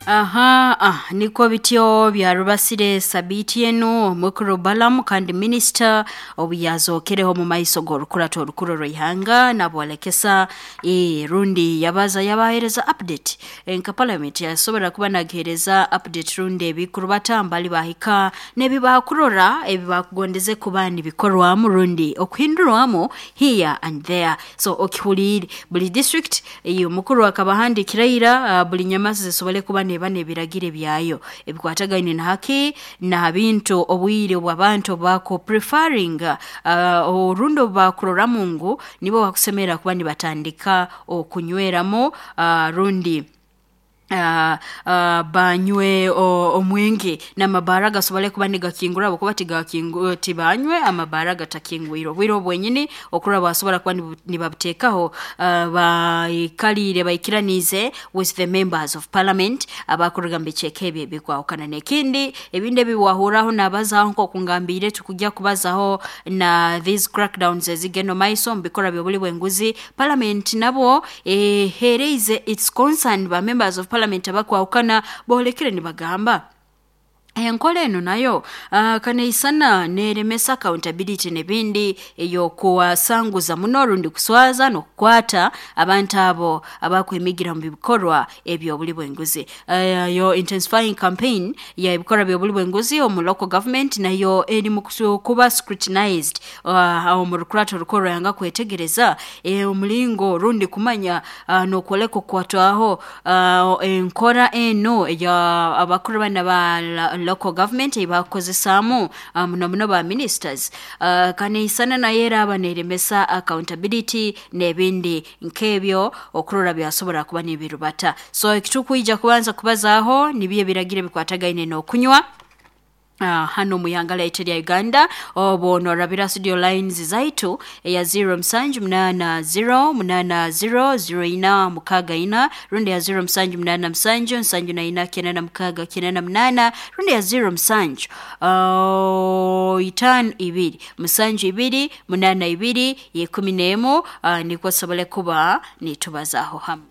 Aha, nikwo bityo byarubasire sabiiti enu omukuru Balaam kandi minisita obu yazookereho omu maiso g'orukurato orukuru rw'ihanga nabwolekesa rundi yabaza yabahereza update nka parliament yasobora kuba nagihereza update rundi ebikurubata mbali bahika n'ebi bakurora ebi bakugondeze kuba nibikorwamu rundi okuhindurwamu here and there. So okihuliire buli district omukuru akabahandikira ira, buli nyamazi zisobole kuba neba n'ebiragiro ebyayo ebikwatagaine na haki na bintu obwire obw'abantu bako preferring, orundi obu bakuroramu ngu nibo bakusemerra kuba nibatandika okunyweramu, rundi banywe omwenge n'amabaara gasobole kuba nigakingura, habwokuba tibanywe amabaara gatakingwire obwire obu bwenyini okurora basobora kuba nibabuteekaho, baikaliire baikiraniize with the members of parliament abakuruga mu bicweka ebi ebikwahukana. N'ekindi ebindi ebi wahurraho nabazaho, nk'oku ngambiire tukujya kubazaho na these crackdowns ezigenda omu maiso omu bikorwa by'obuli bw'enguzi. Parliament nabo eheereize its concern, ba members of parliament abakwahukana boolekere nibagamba enkora enu nayo kaneisana neeremesa accountability n'ebindi ey'okuwasanguza muno rundi kuswaza n'okukwata abantu abo abakwemigira mu bikorwa eby'obuli bw'enguzi. Yo intensifying campaign y'ebikorwa by'obuli bw'enguzi omu local government nayo eri mu kuba scrutinized omu rukurato orukuru rw'ihanga kwetegereza omulingo rundi kumanya n'okwoleka okukwatwaho enkora enu eya abakuru banu aba local government ei bakukozesaamu, muno muno ba ministers, kaneisana nayo eraaba neeremesa accountability n'ebindi nk'ebyo okurora byasobora kuba nibirubata. So ekitukwija kubanza kubazaaho nibyo ebiragiro ebikwatagaine n'okunywa hanu omu ihanga lyaitu erya Uganda. Obu noorabira studio lines zaitu eya 0780 80 0464 rundi ya 0787 74 96 98 rundi ya 07 52 72 82 11, nikwo tusobole kuba nitubazaho hamu.